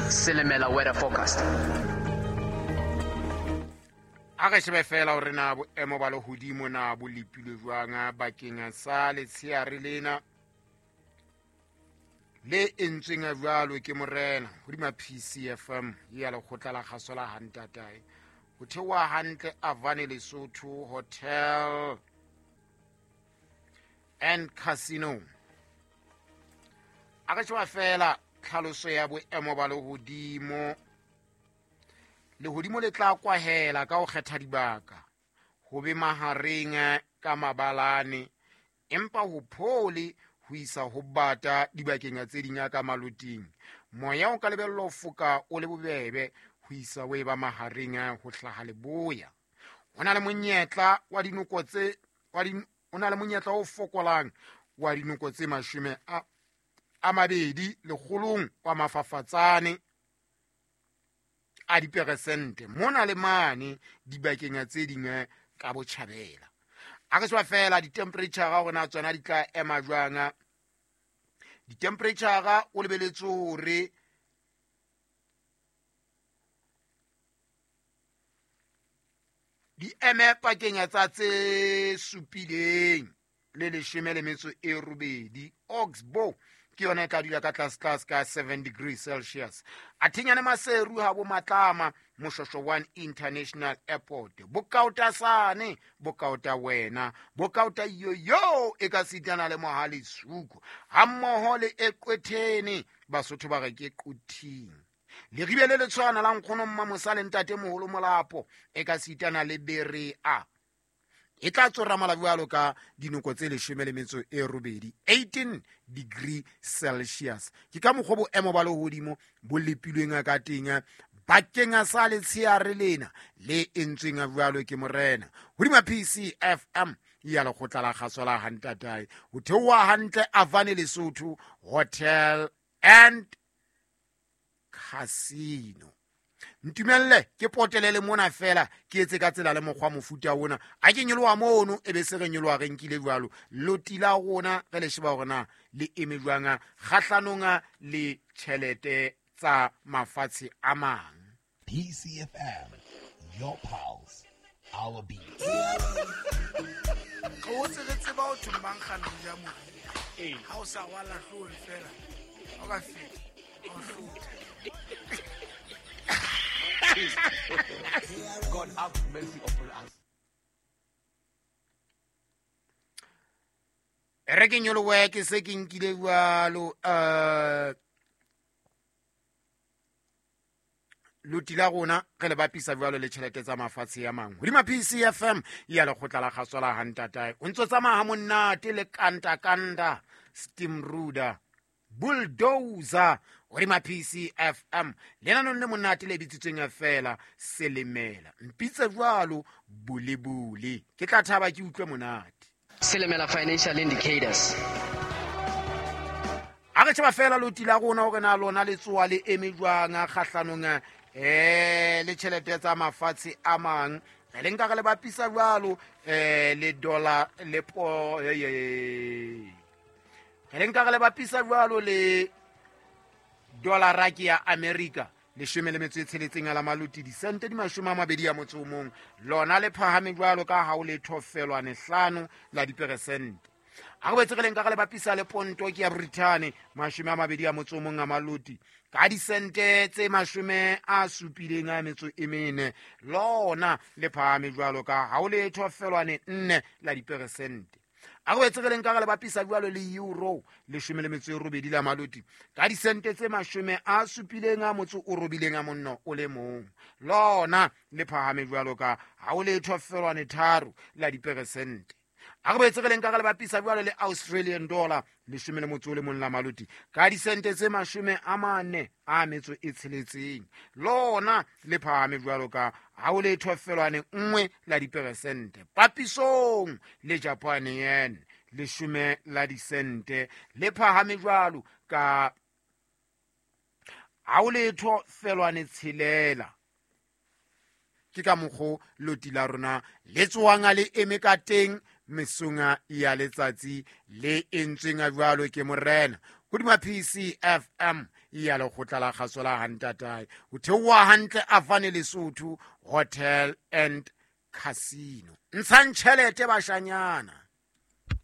Silimela weather forecast. A re shebe fela hore na boemo ba lehodimo na bo lepilwe jwang bakeng sa letsheare lena le entsweng jwalo ke morena hodima PCFM ya lekgotla la kgaso la hantatae ho theoha hantle Avane Lesotho Hotel and Casino. A re sheba fela tlhaloso ya boemo ba lehodimo. Lehodimo le tla kwahela ka ho kgetha dibaka ho be mahareng ka mabalane, empa ho phole ho isa ho bata dibakeng tse ding ka maloting. Moya o ka lebellwa ho foka o le bobebe ho isa ho eba mahareng ho hlaha leboya. Ho na le monyetla wa dinoko tse wa di, o na le monyetla o fokolang wa dinoko tse mashome a mabedi lekgolong wa mafafatsane a diperesente mona le mane dibakeng tse ding ka botjhabela. A re sheba fela di-temperature hore na tsona di tla ema jwang. Di-temperature o lebeletse hore di eme pakeng tsa tse supileng le leshome le metso e robedi. Oxbow ke yona e tla dula ka tlase tlase ka 7 degrees Celsius. Athenyane Maseru ha bo Matlama Moshosho 1 International Airport. Bokaotasane, bokaota wena, bokaota yoyo e ka sitana le Mohale Suku. Hammoho le Eqwetheni, Basotho ba re ke Quthing. Leribe le le tshwana la nkgono Mmamosa le ntate moholo Molapo e ka sitana le Berea. E tla tsora mala jwalo ka dinoko tse leshome le metso e robedi, 18 degree Celsius. Ke ka mokgwa boemo ba lehodimo bo lepilweng ka teng bakeng sa letsheare lena le entsweng jwalo ke morena hodima PCFM ya lekgotla la kgaso la hantatae ho theoha hantle Avane Lesotho Hotel and Casino. Ntumelle ke potelele mona fela ke etse ka tsela le mokgwa mofuta ona. A ke nyoloha mono e be se re nyoloha re nkile jwalo. Loti la rona re le sheba hore na le eme jwang kgahlanong le tjhelete tsa mafatshe a mang. PCFM, your pulse, our beat. Re hotse re tseba ho thwe mankgane ho ja moriri. Ha o sa rwala hloohong fela, ha o ka feta, ha o hlotha. God have mercy upon us. Re ke nyolohe ke se ke nkile jwalo, loti la rona re le bapisa jwalo le tjhelete tsa mafatshe a mang. Hodima PCFM ya lekgotla la kgaso la hantatae. O ntso tsamaya ha monate le kanta kanta steamroller bulldozer hodima PCFM lenanong le monate le bitsitsweng feela Selemela. Mpitse jwalo bulebule, ke tla thaba ke utlwe monate. Silimela Financial Indicators. A re sheba feela loti la rona hore na lona le tsoa le eme jwang kgahlanong le tjhelete tsa mafatshe a mang. Re le nka re le bapisa jwalo le dollar le po, Re le nka re le bapisa jwalo le dollar ke ya America leshome le metso e tsheletseng ya la maloti disente di mashome a mabedi a motso o mong. Lona le phahame jwalo ka ha o le thofelwane hlano la diperesente. A re boetse re le nka re le bapisa le ponto ke ya Britain mashome a mabedi a motso o mong a maloti ka disente tse mashome a supileng a metso e mene. Lona le phahame jwalo ka ha o le thofelwane nne la diperesente. A re boetse re le nka re le bapisa jwalo le euro leshome le metso e robedi la maloti ka disente tse mashome a supileng a motso o robileng a monno o le mong. Lona le phahame jwalo ka ha o le thofelwane tharo la diperesente. A re boetse re le nka re le bapisa jwalo le Australian dollar leshome le motso o le mong la maloti ka disente tse mashome a mane a metso e tsheletseng. Lona le phahame jwalo ka ha o le thofelwane nngwe la diperesente. Papisong le Japan yen leshome la disente le phahame jwalo ka ha o le thofelwane tshelela. Ke ka mokgo loti la rona le tsohang le eme ka teng mesong ya letsatsi le entsweng jwalo ke morena hodima PCFM Ya lekgotla la kgaso la hantatae o theoha hantle afane Lesotho Hotel and Casino. Ntshang tjhelete, bashanyana.